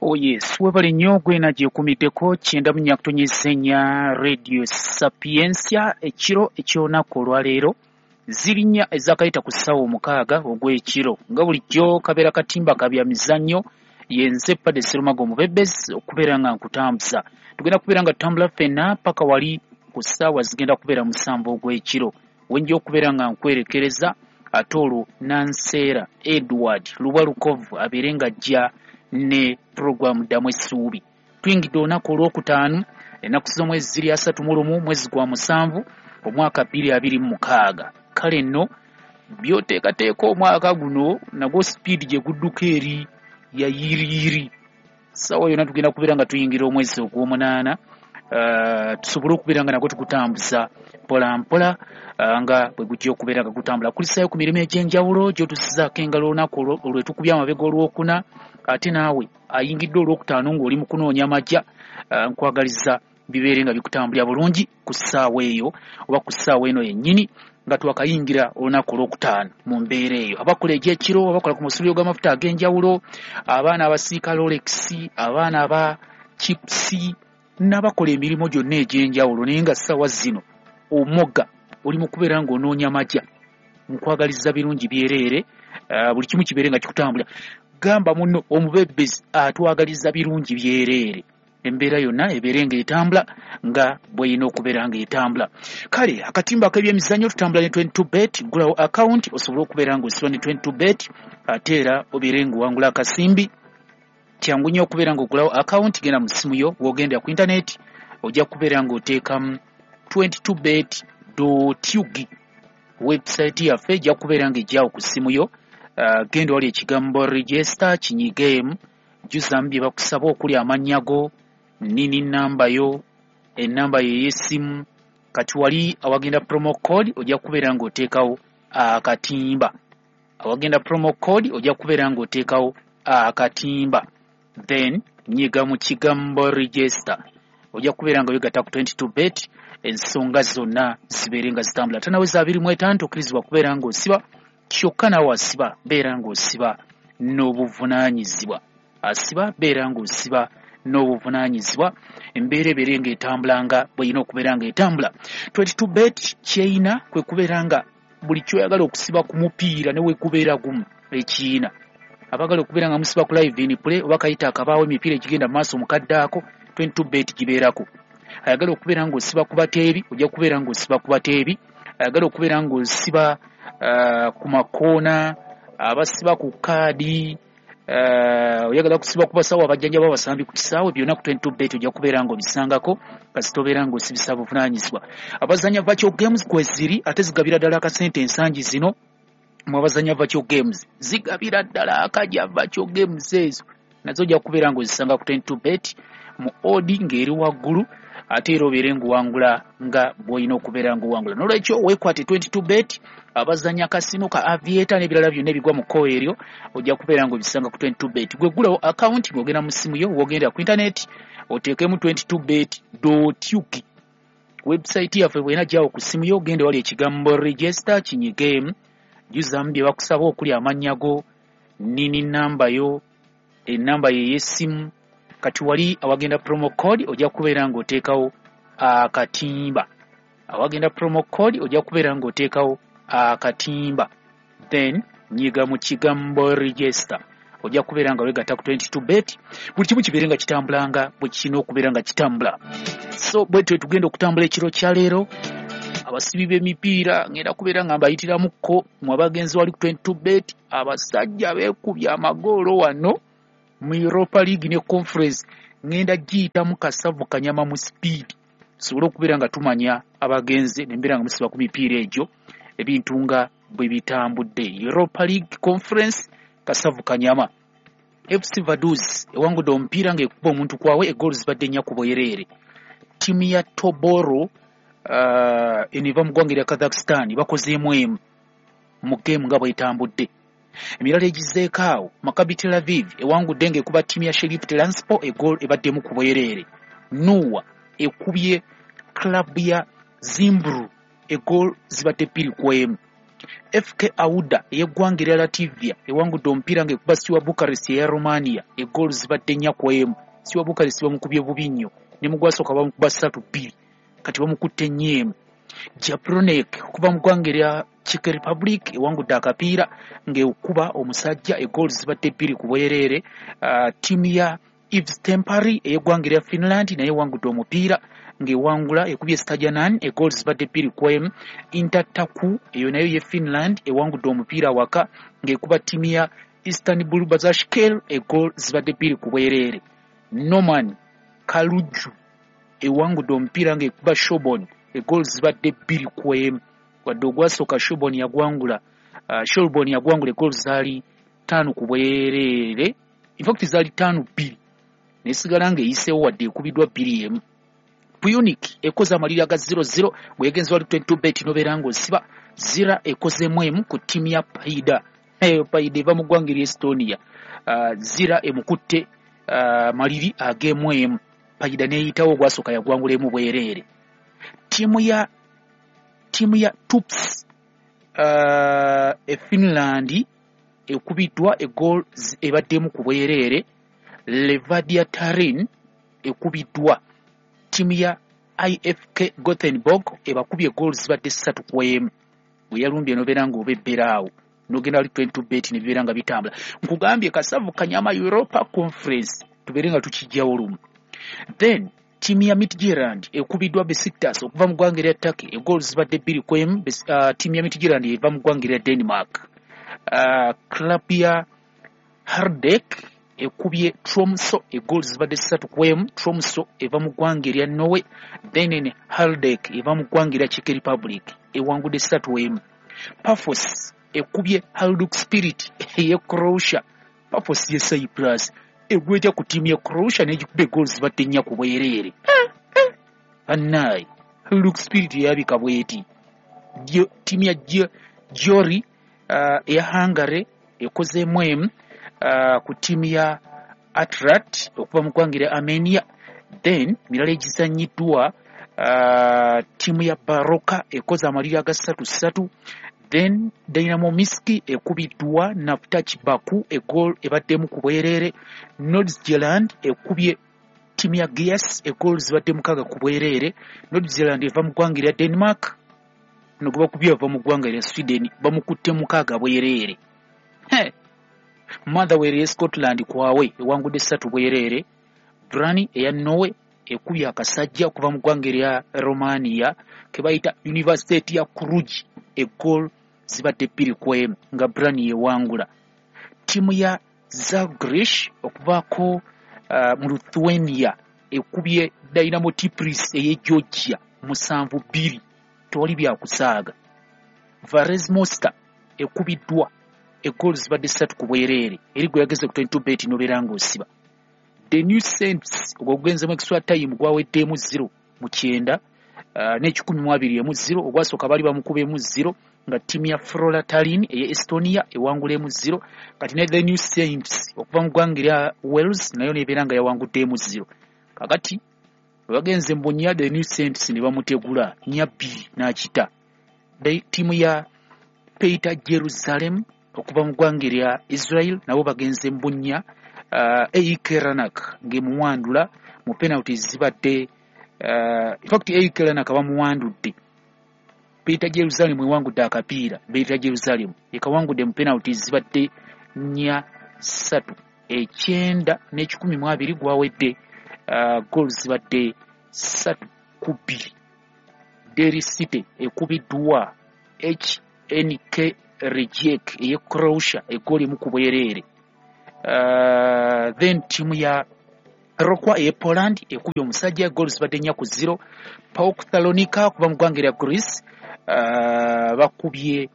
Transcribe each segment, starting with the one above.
Oh yes, webale nnyo gwena gyekumiddeko 94.4 Radio Sapientia ekiro eky'olunaku olwaleero ziri nnya ezakayita ku ssaawa 6 ogw'ekiro nga bulijjo kabeera katimba ka bya mizannyo yenze Padde Serumaga omubebezi okubeera nga nkutambuza. Tugenda kubeera nga tutambula ffenna paka wali ku ssaawa zigenda kubeera 7 ogw'ekiro wenja okubeera nga nkwerekereza ate olwo Nanseera Edward Lubwa Lukovu abeere nga ajja ne puroguramu Ddamu Essuubi. Tuyingidde olunaku olwokutaano ennaku z'omwezi ziri 31 mwezi gwa 7 omwaka 2026. Kale nno by'oteekateeka omwaka guno nagwo sipiidi gye gudduka eri ya yiriyiri. Ssaawa yonna tugenda kubeera nga tuyingira omwezi ogw'omunaana tusobole okubeera nga nagwo tugutambuza mpola mpola nga bwe gujja okubeera nga gutambula. Kulisaayo ku mirimu egy'enjawulo gy'otusizaako engalo olunaku olwetukubye amabega olwokuna, ate naawe ayingidde olwokutaano ng'oli mu kunoonya majja, nkwagaliza bibeere nga bikutambulira bulungi ku ssaawa eyo oba ku ssaawa eno yennyini nga twakayingira olunaku olwokutaano mu mbeera eyo. Abakola egy'ekiro, abakola ku masuliro g'amafuta ag'enjawulo, abaana abasiika Rolex, abaana aba chips n'abakola emirimu gyonna egy'enjawulo, naye nga ssaawa zino omoga oli mu kubeera ng'onoonya majja, nkwagaliza birungi byereere, buli kimu kibeere nga kikutambulira. Gamba munno omubebezi atwagaliza birungi byereere, embeera yonna ebeere ng'etambula nga bw'erina okubeera ng'etambula. Kale akatimba ak'ebyemizannyo tutambula ne 22bet, ggulawo akawunti osobole okubeera ng'osiba ne 22bet ate era obeere ng'owangula akasimbi. Kyangu nnyo okubeera ng'oggulawo akawunti, genda mu ssimu yo w'ogendera ku intaneti ojja kubeera ng'oteekamu 22bet.ug. Website yaffe ejja kubeera ng'ejjawo ku ssimu yo. Genda wali ekigambo register kinyigeemu, jjuzaamu bye bakusaba okuli amannya go, nini namba yo, ennamba yo ey'essimu. Kati wali awagenda promo code ojja kubeera ng'oteekawo akatimba. Awagenda promo code ojja kubeera ng'oteekawo akatimba, then nyiga mu kigambo register, ojja kubeera nga weegatta ku 22bet, ensonga zonna zibeere nga zitambula. Tanaweza 25 tokkirizibwa kubeera ng'osiba, kyokka naawe asiba beera ng'osiba n'obuvunaanyizibwa. Asiba beera ng'osiba n'obuvunaanyizibwa, embeera ebeere ng'etambula nga bw'erina okubeera ng'etambula. 22bet kyeyina kwe kubeera nga buli ky'oyagala okusiba ku mupiira ne wekubeera gumu ekiina. Abaagala okubeera nga musiba ku live in play oba kayita akabaawo emipiira egigenda mu maaso mukadde ako, 22bet gibeerako. Ayagala okubeera ng'osiba ku bateebi ojja kubeera ng'osiba ku bateebi. Ayagala okubeera ng'osiba ku makoona, abasiba ku kaadi, oyagala kusiba ku basawo abajjanjaba abasambi ku kisaawe, byonna ku 22bet ojja kubeera ng'obisangako kasita obeera ng'osibisa buvunaanyizibwa. Abazannya virtual games kweziri ate zigabira ddala akasente ensangi zino. Mu abazannya virtual games zigabira ddala akajja virtual games ezo nazo ojja kubeera ng'ozisanga ku 22bet mu odi ng'eri waggulu, ate era obeere ng'owangula nga bw'olina okubeera ng'owangula. N'olwekyo weekwate 22bet, abazannya kasino ka aviator n'ebirala byonna ebigwa mu kkowe eryo ojja kubeera ng'obisanga ku 22bet. Gwe ggulawo akawunti ng'ogenda mu ssimu yo w'ogendera ku intaneti oteekemu 22bet.ug. Website yaffe bw'erina gyawo ku ssimu yo, genda wali ekigambo register kinyigeemu, jjuzaamu bye bakusaba okuli amannya go, nini namba yo, ennamba yo ey'essimu. Kati wali awagenda promo code ojja kubeera ng'oteekawo akatimba. Awagenda promo code ojja kubeera ng'oteekawo akatimba, then nyiga mu kigambo register, ojja kubeera nga weegatta ku 22bet, buli kimu kibeere nga kitambula nga bwe kirina okubeera nga kitambula. So bwetyo tugenda okutambula ekiro kya leero. Abasibi b'emipiira ngenda kubeera nga mbayitiramukko mu abagenzi wali ku 22bet. Abasajja beekubye amagoolo wano mu Europa League ne Conference, ngenda giyitamu kasavu kanyama mu speed tusobole okubeera nga tumanya abagenzi nembeera nga musiba ku mipiira egyo ebintu nga bwe bitambudde. Europa League Conference kasavu kanyama. FC Vaduz ewangudde omupiira ng'ekuba omuntu kwawe, eggoolo zibadde nnya ku bwereere. Ttiimu ya Toboro eno eva mu ggwanga erya Kazakhstan bakozeemu emu mu geemu nga bw'etambudde. Emirala egizeeko awo, Maccabi Tel Aviv ewangudde ng'ekuba ttiimu ya Sheriff Tiraspol eggoolo ebaddemu ku bwereere. Nuwa ekubye club ya Zimbru eggoolo zibadde 2-1. FK Auda ey'eggwanga erya Latvia ewangudde omupiira ng'ekuba Steaua Bucharest eya Romania, egoolo zibadde 4-1. Steaua Bucharest bamukubye bubi nnyo, ne mu gwasooka bamukuba 3-2, kati bamukutte 4-1. Jablonek okuva mu ggwanga erya Czech Republic ewangudde akapiira ng'ekuba omusajja, egoolo zibadde 2-0. Ttiimu ya Yves Tempari ey'eggwanga erya Finland naye ewangudde omupiira ng'ewangula ekubye Stajanan, egoolo zibadde 2-1. Inter Turku eyo nayo ye Finland ewangudde omupiira waka ng'ekuba ttiimu ya Istanbul Basaksehir, egoolo zibadde 2-0. Norman Kaluju ewangudde omupiira ng'ekuba Shobon, egoolo zibadde 2-1. Wadde ogwasooka Shobon yagwangula, Shelbourne yagwangula egoolo zaali 5-0, in fact zaali 5-2, nesigala ng'eyiseewo wadde ekubiddwa 2-1. Pyunik ekoze amaliri aga 0-0 bwegenzi wali 22 bet nobeera ng'osiba. Zira ekozeemu emu ku ttiimu ya Paide. Paide eva mu ggwanga erya Estonia. Zira emukutte maliri ag'emu emu, Paide n'eyitawo, ogwasooka yagwangula 1-0. Ttiimu ya Tups e Finland ekubiddwa egoal ebaddemu 1-0. Levadia Tallinn ekubiddwa ttiimu ya IFK Gothenburg, ebakubye goal zibadde 3-1. Bwe yalumbye nobeera ng'oba nogenda wali 22 bet ne bibeera nga bitambula. Nkugambye kasavu kanyama Europa Conference tubeere nga tukijjawo lumu. Then ttiimu ya Midtjylland ekubiddwa Besiktas okuva mu ggwanga erya Turkey, egoolo zibadde 2-1. Ttiimu ya Midtjylland eva mu ggwanga erya Denmark. Club ya Hardek ekubye Tromso, egoolo zibadde 3-1. Tromso eva mu ggwanga erya Norway, then Hardek eva mu ggwanga erya Czech Republic ewangudde 3-1. Pafos ekubye Hajduk Split ey'e Croatia. Pafos ye Cyprus egwetya ku ttiimu ya Croatia n'egikuba egoolo zibadde 4-0. Bannaaye, Hajduk Split eyabika bweti. Ttiimu ya Gyori eya Hungary ekozeemu emu ku ttiimu ya Atrat okuva mu ggwanga erya Armenia. Then mirala egizannyiddwa, ttiimu ya Baroka ekoze amaliri aga 3-3. Then Dynamo Minsk ekubiddwa Neftchi Baku, egoal ebadde 1-0. Nordsjælland ekubye ttiimu ya Gias, egoal zibadde 6-0. Nordsjælland eva mu ggwanga erya Denmark, no gwe bakubye ava mu ggwanga erya Sweden, bamukutte 6-0. Motherwell ye Scotland kwawe ewangudde 3-0. Brann eya Norway ekubye akasajja okuva mu ggwanga erya Romania ke bayita University ya Cluj, egoal zibadde 2-1 nga Brann yewangula. Ttiimu ya Zalgiris okuvaako mu Lithuania ekubye Dynamo Tbilisi ey'e Georgia 7-2, tewali byakusaaga. Varese Mostar ekubiddwa egoal zibadde 3-0, eri gwe yageze ku 22 bet nobeera ng'osiba. The New Saints ogwo gugenzemu extra time, gwaweddemu 0 mu kyenda n'ekikumi mu abiri emu 0. Ogwasooka baali bamukuba 1-0 nga ttiimu ya Flora Tallinn eye Estonia ewangula 1-0. Kati ne The New Saints okuva mu ggwanga erya Wales nayo nebeera nga yawangudde 1-0. Kakati bwe bagenze mu bunya, The New Saints ne bamutegula 4-2 n'akita. Ttiimu ya Beitar Jerusalem okuva mu ggwanga erya Israel nabo bagenze mu bunnya, AEK Larnaca ng'emuwandula mu penalties zibadde, in fact AEK Larnaca bamuwandudde. Beitar Jerusalem ewangudde akapiira. Beitar Jerusalem ekawangudde mu penalties zibadde 4-3, 190 gwawedde, goal zibadde 3-2. Derry City ekubiddwa HNK Rijeka ey'e Croatia egooli 1-0. Then ttiimu ya Rokwa ey'e Poland ekubye omusajja, goal zibadde 4-0. PAOK Thessaloniki okuva mu ggwanga erya Greece bakubye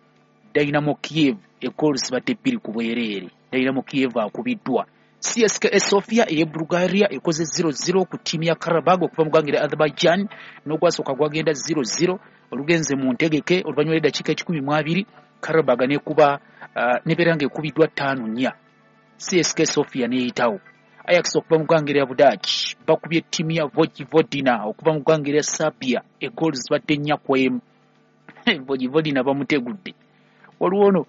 Dynamo Kiev, egoal zibadde 2-0. Dynamo Kiev akubiddwa. CSKA Sofia ey'e Bulgaria ekoze 0-0 ku ttiimu ya Qarabag okuva mu ggwanga erya Azerbaijan. N'ogwasooka gwagenda 0-0, olugenze mu ntegeke oluvannyuma lw'eddakiika 120 Qarabag nekuba nebeera ng'ekubiddwa 5-4, CSKA Sofia n'eyitawo. Ajax okuva mu ggwanga erya Budaaki bakubye ttiimu ya Vojvodina okuva mu ggwanga erya Serbia, egoal zibadde 4-1. Vojvodina bamutegudde. Waliwo ono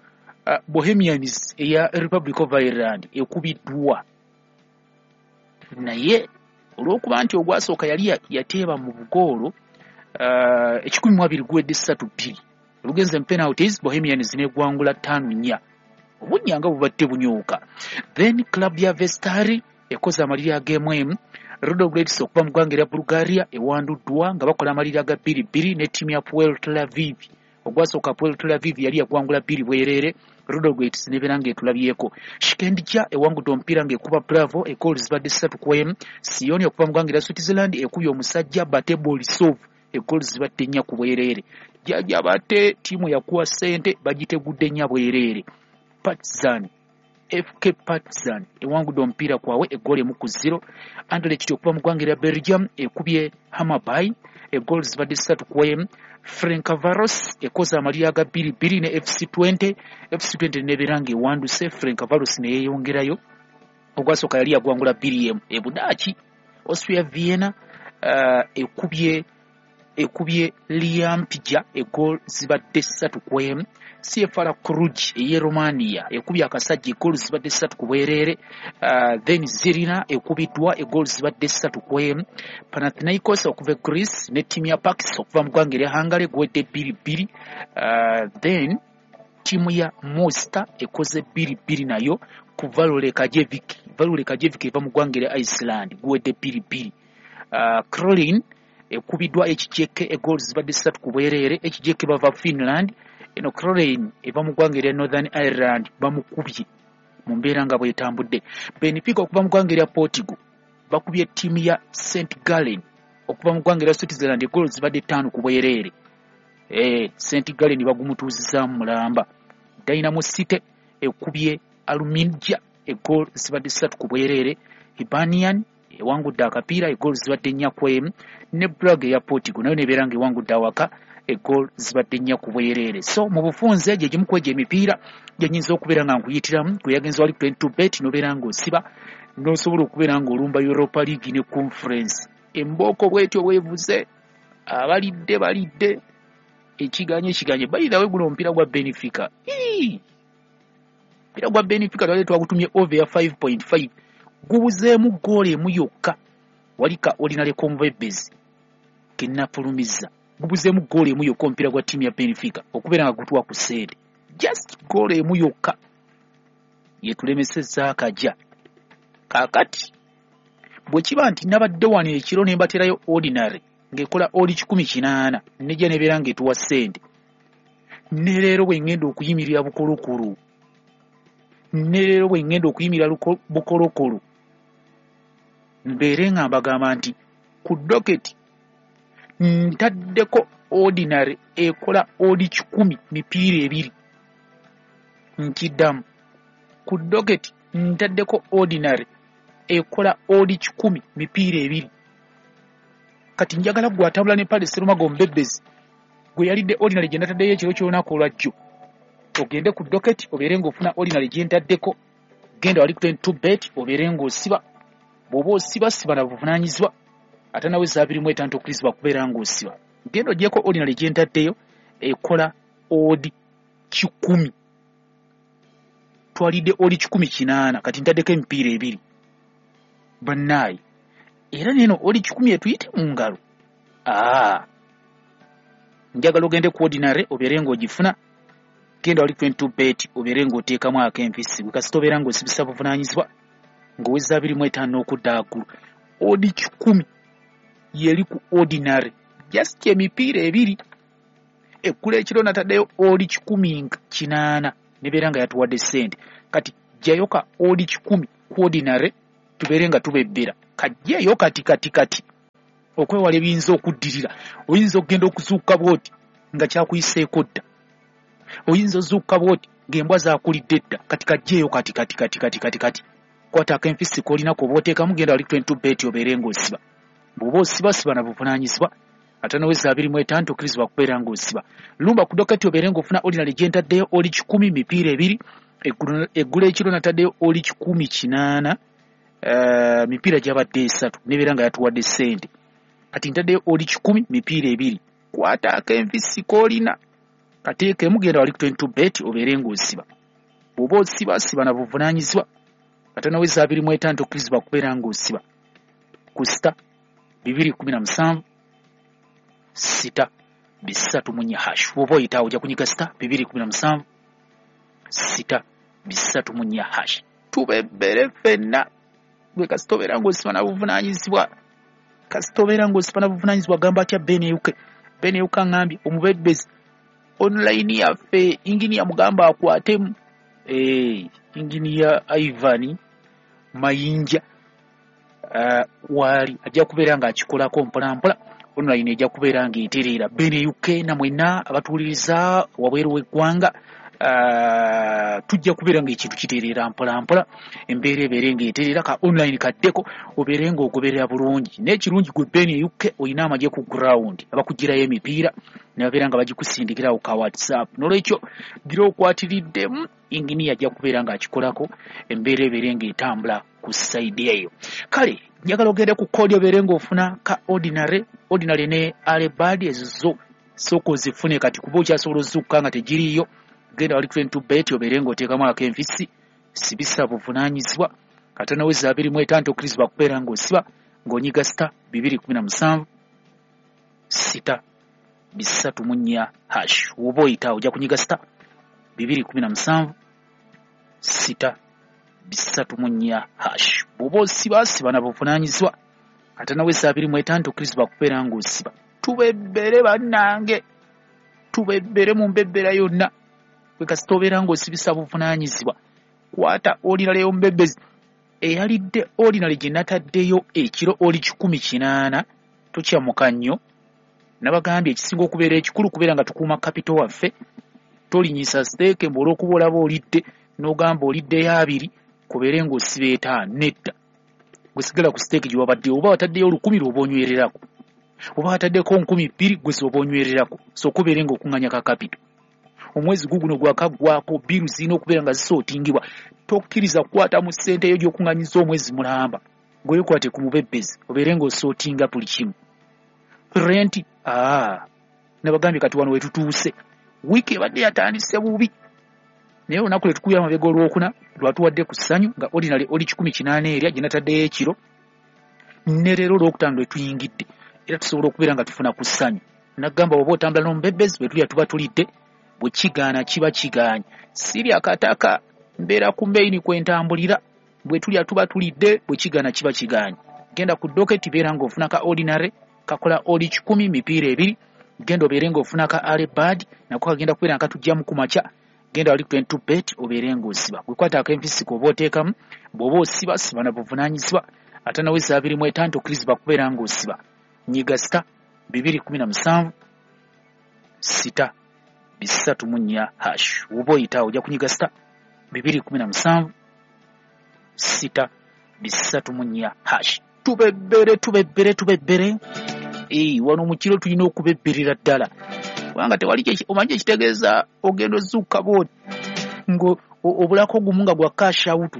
Bohemians eya Republic of Ireland ekubiddwa, naye olw'okuba nti ogwasooka yali yateeba mu bugoolo 120 guwedde 3-2, olugenze mu penalties Bohemians negwangula 5-4, obunnya nga bubadde bunyooka. Then club ya Vestari ekoze amaliri ag'emwemu. Ludogorets okuva mu ggwanga erya Bulgaria ewanduddwa nga bakola amaliri aga 2-2 ne ttiimu ya Puel Tel Aviv. Ogwasooka Puel Tel Aviv yali yagwangula 2 bwereere, Ludogorets nebeera ng'etulabyeko. Shkendija ewangudde omupiira ng'ekuba Bravo, egoolo zibadde 3-1. Sioni okuva mu ggwanga erya Switzerland ekubye omusajja Bate Borisov, egoolo zibadde 4 bwereere. Jjajja Bate ttiimu yakuwa ssente bagitegudde 4 bwereere. Partizan, FK Partizan ewangudde omupiira kwawe eggoolo 1-0. Anderlecht okuva mu ggwanga erya Belgium ekubye Hammarby, eggoolo zibadde 3-1. Ferencvaros ekoze amaliri aga 2-2 ne FC 20, FC 20 nebeera ng'ewanduse, Ferencvaros ne yeeyongerayo. Ogwasooka yali yagwangula 2-1 ebudaaki. Austria Vienna ekubye Liampija, egoolo zibadde 3-1. CFR Cluj ey'e Romania ekubye akasajja, egoolo zibadde 3 ku bwereere. Then Zirina ekubiddwa, egoolo zibadde 3-1. Panathinaikos okuva e Greece ne ttiimu ya Paks okuva mu ggwanga erya Hungary guwedde 2-2. Then ttiimu ya Mostar ekoze 2-2 nayo ku Valur Reykjavik. Valur Reykjavik eva mu ggwanga erya Iceland, guwedde 2-2. Caroline ekubiddwa HJK, egoolo zibadde 3 ku bwereere. HJK bava Finland, eno Caroline eva mu ggwanga erya Northern Ireland, bamukubye mu mbeera nga bwetambudde. Benfica okuva mu ggwanga erya Portugal bakubye ttiimu ya St Gallen okuva mu ggwanga erya Switzerland, egoolo zibadde 5 ku bwereere. St Gallen bagumutuuzizaamu mulamba. Dynamo City ekubye Aluminja, egoolo zibadde 3 ku bwereere. Hibernian ewangudde akapiira, egoolo zibadde 4-1. Ne Braga eya Portugal nayo nebeera nga ewangudde awaka, egoolo zibadde 4 ku bwereere. So mu bufunze gye gimu ku egyo emipiira gyenyinza okubeera nga nkuyitiramu. Gwe yagenze wali 22 bet nobeera ng'osiba n'osobola okubeera ng'olumba Europa League ne Conference. Embooko bwetyo bwevuze, abalidde balidde, ekiganye ekiganye. Bayirawe guno omupiira gwa Benfica, omupiira gwa Benfica twali twagutumye over ya 5.5, gubuzeemu goolo emu yokka. Walika ordinary convebes kenafulumizza, gubuzeemu goolo emu yokka omupiira gwa ttiimu ya Benfica okubeera nga gutuwa ku ssente. Just goolo emu yokka yetulemesezza akajja. Kaakati bwe kiba nti nabadde wano ekiro ne mbaterayo ordinary ng'ekola oli 180, nejja nebeera ng'etuwa ssente, ne leero bwe ŋŋenda okuyimirira bukolokolo, ne leero bwe ŋŋenda okuyimirira bukolokolo, mbeere nga mbagamba nti ku docket ntaddeko ordinary ekola oli 100 mipiira ebiri. Nkiddamu, ku docket ntaddeko ordinary ekola oli 100 mipiira ebiri. Kati njagala gwe atambula ne Pale Serumago Omubebbezi gwe yalidde ordinary gye nataddeyo ekiro ky'olunaku olwajjo, ogende ku docket obeere ng'ofuna ordinary gye ntaddeko. Genda wali ku 22 bet obeere ng'osiba. Bw'oba osiba, siba na buvunaanyizibwa, ate nawe za 25 tokkirizibwa kubeera ng'osiba. Genda ogyeko ordinary gye ntaddeyo ekola odi 100. Twalidde oli 180, kati ntaddeko emipiira ebiri bannaayi, era neno oli 100 etuyite mu ngalo. Aa, njagala ogende ku ordinary obeere ng'ogifuna. Genda wali 22 bet obeere ng'oteekamu ak'empisi gwe kasita obeera ng'osibisa buvunaanyizibwa ng'oweza 25 n'okudda waggulu. Odi 100 yeri ku ordinary, just emipiira ebiri. Ekkula ekiro nataddeyo oli 180, nebeera nga yatuwadde ssente. Kati jjayo ka odi 100 ku ordinary tubeere nga tubebbera. Kajjeeyo kati kati kati okwewala ebiyinza okuddirira. Oyinza okugenda okuzuukuka bw'oti nga kyakuyiseeko dda, oyinza ozuukuka bw'oti ng'embwa zaakulidde dda. Kati kajjeeyo kati kati kati kati kati kati. Kwata akenfisi k'olina koba oteekamu, genda wali 22 bet obeere ng'osiba. Bw'oba osiba, siba na buvunaanyizibwa, ate noweza 25 tokkirizibwa kubeera ng'osiba. Lumba ku docket obeere ng'ofuna ordinary gye ntaddeyo oli 100 mipiira ebiri. Eggulo ekiro nataddeyo oli 180, mipiira gyabadde esatu, nebeera nga yatuwadde ssente. Kati ntaddeyo oli 100 mipiira ebiri. Kwata akenfisi k'olina. Kateekemu, genda wali ku 22 bet obeere ng'osiba. Bw'oba osiba, siba na buvunaanyizibwa. Katanaweza 25 tokkirizibwa kubeera ng'osiba ku star 217 sita 3 4 hash. Bw'oba oyitaawo ojja kunyiga star 217 sita 3 4 hash. Tubebbere ffenna. Gwe kasita obeera ng'osiba na buvunaanyizibwa, kasita obeera ng'osiba na buvunaanyizibwa. Gamba atya Beneuke? Beneuke aŋŋambye omubebbezi online yaffe inginiya mugamba akwatemu. Inginiya Ivan Mayinja waali ajja kubeera ng'akikolako mpola mpola, online ejja kubeera ng'etereera. Beneuke namwenna abatuwuliriza wabweru w'eggwanga, tujja kubeera ng'ekintu kitereera mpola mpola, embeera ebeere ng'etereera, ka online kaddeko obeere ng'ogoberera bulungi. N'ekirungi, gwe Beneuke olina amagye ku ground abakugirayo emipiira ne babeera nga bagikusindikirawo ka WhatsApp. Nolwekyo gira okwatiriddemu, inginiya ajja kubeera ng'akikolako, embeera ebeere ng'etambula ku side eyo. Kale njagala ogende ku code obeere ng'ofuna ka ordinary, ordinary ne early bird. Ezo zo sooka ozifune kati, kuba okyasobola ozukka nga tegiriiyo. Genda wali 22 bet obeere ng'oteekamu ak'enfisi, sibisa buvunaanyizibwa. Katanaweza 25 tokkirizibwa kubeera ng'osiba ng'onyiga star 217 sita 3 4 hash. Woba oyitaawo ojja kunyiga star 217 sita 3 4 hash. Bw'oba osiba, siba na buvunaanyizibwa. Katanaweza 25 tokkirizibwa kubeera ng'osiba. Tubebbere bannange, tubebbere mu mbebbera yonna. Gwe kasita obeera ng'osibisa buvunaanyizibwa. Kwata ordinary y'omubebbezi eyalidde ordinary gye nataddeyo ekiro oli 180, tokyamuka nnyo. Nabagambye ekisinga okubeera ekikulu kubeera nga tukuuma capital waffe. Tolinyisa stake mbu olw'okuba olaba olidde n'ogamba oliddeyo 20 kubeere ng'osiba 5. Nedda, gwe sigala ku stake gye wabaddeyo. Oba wataddeyo 1000 lw'oba onywererako, oba wataddeko 2000 gwe z'oba onywererako. So okubeere ng'okuŋŋanya ka capital. Omwezi guguno gwakaggwako, bill zirina okubeera nga zisootingibwa. Tokkiriza kukwata mu ssente eyo gy'okuŋŋanyiza omwezi mulamba, gwekwate ku mubebbezi obeere ng'osootinga buli kimu. Rent, aa, nabagambye kati wano wetutuuse. Wiiki ebadde yatandise bubi, naye olunaku lwe tukubye amabega olwokuna lwatuwadde ku ssanyu nga ordinary oli 180 erya gye nataddeyo ekiro. Ne leero olwokutaano lwe tuyingidde era tusobola okubeera nga tufuna ku ssanyu. Nagamba oba otambula n'omubebbezi, bwe tulya tuba tulidde, bwe kigaana kiba kigaanye. Sirya kataka, mbeera ku main kwe ntambulira. Bwe tulya tuba tulidde, bwe kigaana kiba kigaanye. Genda ku docket, beera ng'ofuna ka ordinary kakola oli 100 mipiira ebiri. Genda obeere ng'ofuna ka early bird, nako kagenda kubeera nga katujjamu ku makya. Genda wali 22 bet obeere ng'osiba. Gwe kwata ak'enfisi k'oba oteekamu. Bw'oba osiba, siba na buvunaanyizibwa. Atanaweza 25 tokkirizibwa kubeera ng'osiba. Nyiga star 217 sita 3 4 hash. Woba oyitaawo ojja kunyiga star 217 sita 3 4 hash. Tubebbere, tubebbere, tubebbere. Wano mu kiro tulina okubebberera ddala, kubanga tewali omanyi ekitegeeza ogenda ozuuka bwoti ngo obulako gumu nga gwa cash out,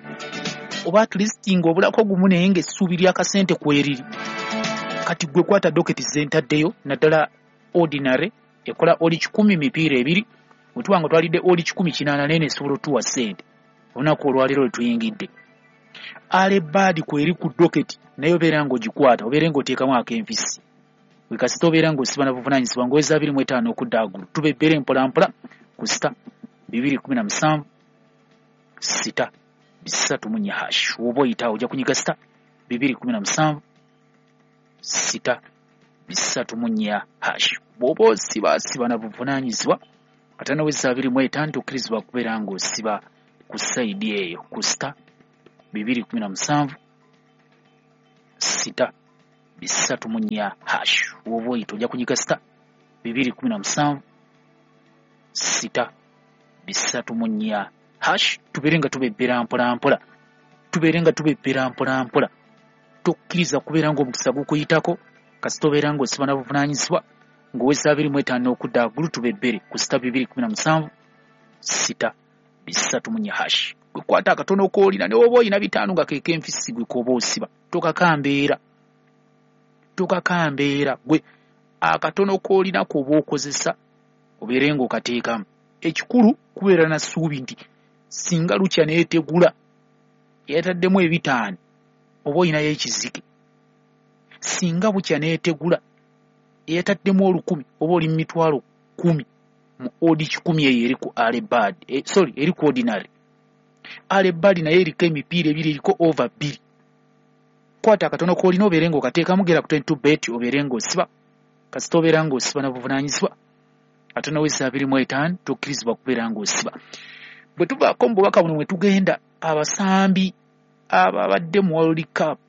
oba at least ng'obulako gumu naye ng'essuubi ly'akasente kweriri. Kati gwe kwata docket zentaddeyo, naddala ordinary ekola oli 100 mipiira ebiri. Bwe tuba nga twalidde oli 180, naye neesobola otuwa ssente olunaku olwaleero lwe tuyingidde. Early bird kweri ku docket, naye obeera ng'ogikwata obeere ng'oteekamu ak'enfisi. Bwe kasita obeera ng'osiba na buvunaanyizibwa ng'oweza 25 okudda waggulu. Tubebbere mpola mpola ku star 217 sita 3 4 hash. Woba oyitaawo ojja kunyiga star 217 sita 3 4 hash. Bw'oba osiba, siba na buvunaanyizibwa. Katanaweza 25 tokkirizibwa kubeera ng'osiba ku side eyo ku star 217 sita 3 4 hash. Woba oyita ojja kunyiga star 217 sita 3 4 hash. Tubeere nga tubebbera mpola mpola, tubeere nga tubebbera mpola mpola. Tokkiriza kubeera ng'omukisa gukuyitako. Kasita obeera ng'osiba na buvunaanyizibwa ng'oweza 25 okudda waggulu. Tubebbere ku star 217 sita 3 4 hash. Gwe kwata akatono k'olina, ne woba olina 500 nga ke k'enfisi, gwe k'oba osiba. Tokakambeera, tokakambeera. Gwe akatono k'olina k'oba okozesa. Obeere ng'okateekamu. Ekikulu kubeera na ssuubi nti singa lukya neetegula yataddemu 5 oba olinayo ekizike. Singa bukya neetegula yataddemu 1,000 oba oli mu 10,000 mu odi 100 eyo eri ku early bird, sorry, eri ku ordinary. Early bird naye eriko emipiira ebiri, eriko over 2. Kwata akatono k'olina obeere ng'okateekamu, gera ku 22 bet obeere ng'osiba. Kasita obeera ng'osiba na buvunaanyizibwa. Ate n'oweza 25 tokkirizibwa kubeera ng'osiba. Bwe tuvaako mu bubaka buno mwe tugenda, abasambi ababadde mu World Cup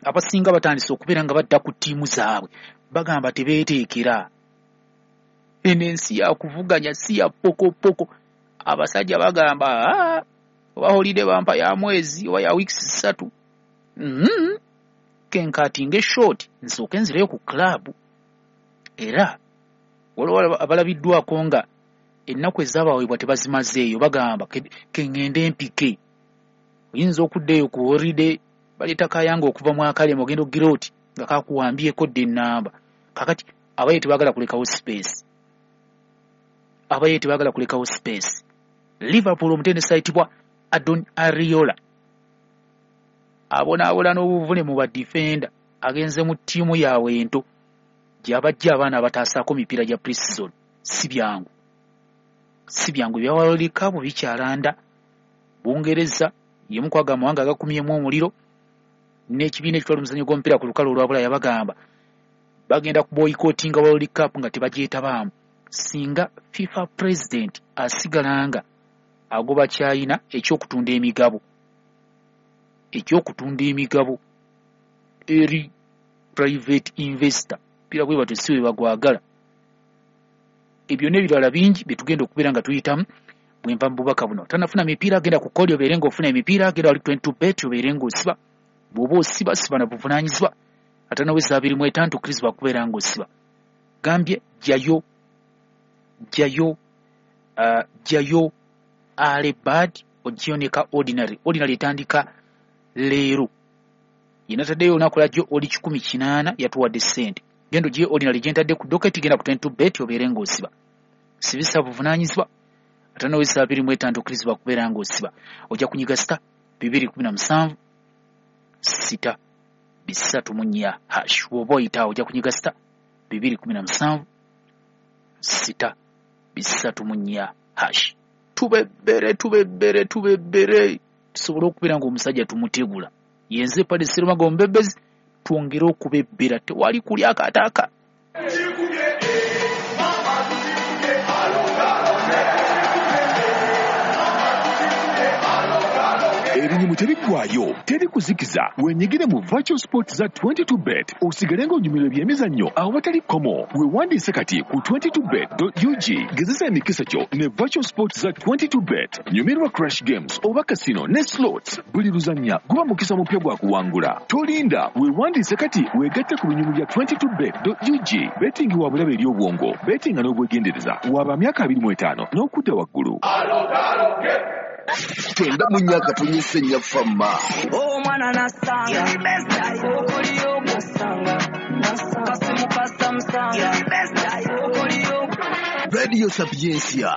abasinga batandise okubeera nga badda ku ttiimu zaabwe, bagamba tebeeteekera. Eno ensi ya kuvuganya, si ya pokopoko. Abasajja bagamba oba holiday bampa ya mwezi oba ya weeks 3, kenkatinga short nsooke nzireyo ku club. Era waliwo abalabiddwako nga ennaku ezaabaweebwa tebazimazeeyo, bagamba keŋŋende empike. Oyinza okuddaeyo ku holiday, baleeta kayanga okuva mu akalema, ogenda okugira oti nga kakuwambyeko dda ennamba. Kakati abaye tebaagala kulekawo space, abaye tebaagala kulekawo space. Liverpool omutendesi ayitibwa Adon Ariola abonaabona n'obuvune mu badifenda, agenze mu ttiimu yaabwe ento gy'abajja abaana abataasaako mipiira gya pre-season. Si byangu, si byangu. Ebya World Cup bikyalanda. Bungereza yemu kwaga amawanga agakumyemu omuliro, n'ekibiina ekitwala omuzannyo gw'omupiira ku lukalu olwa Bulaaya bagamba bagenda kuboycottinga World Cup nga tebagyetabaamu singa FIFA president asigala nga agoba kyayina eky'okutunda emigabo, eky'okutunda emigabo eri private investor. Mpira bwe batyo si bwe bagwagala. Ebyo n'ebirala bingi bye tugenda okubeera nga tuyitamu bwe nva mu bubaka buno. Tanafuna mipiira, genda ku kodi obeere ng'ofuna emipiira, genda wali 22 bet obeere ng'osiba. Bw'oba osiba, siba na buvunaanyizibwa. Ate n'oweza 25 tokkirizibwa kubeera ng'osiba. Gambye jjayo, jjayo, jjayo early bird oggyeyo ne ka ordinary. Ordinary etandika leero. Ye nataddeyo olunaku lwajjo oli 180 yatuwadde ssente. Genda oggyeyo ordinary gye ntadde ku docket, genda ku 22 bet obeere ng'osiba. Sibisa buvunaanyizibwa. Ate n'oweza 25 tokkirizibwa kubeera ng'osiba. Ojja kunyiga star 217 6 304 hash. Bw'oba oyita ojja kunyiga star 217 6 304 hash. Tubebbere, tubebbere, tubebbere tusobole okubeera ng'omusajja tumutegula. Yenze Paddy Serumaga omubebbezi, twongere okubebbera, tewali kulya akataka. Ebinyumu tebiggwaayo, teri kuzikiza. Wenyigire mu virtual sports za 22bet osigale ng'onyumirwa ebyemizannyo awatali kkomo. Weewandiise kati ku 22bet.ug. Gezesa emikisa gyo ne virtual sports za 22bet. Nyumirwa crash games oba casino ne slots. Buli luzannya guba mukisa mupya gwa kuwangula. Tolinda, weewandiise kati weegatte ku binyumu bya 22bet.ug. Betting wa bulabe eri obwongo, bettinga n'obwegendereza. Waba myaka 25 n'okudda waggulu. Tenda munyaka tunyise nyafama. Omwana nasanga okoliyo nasanga kasimu kasamsanga okoliyo Radio Sapientia.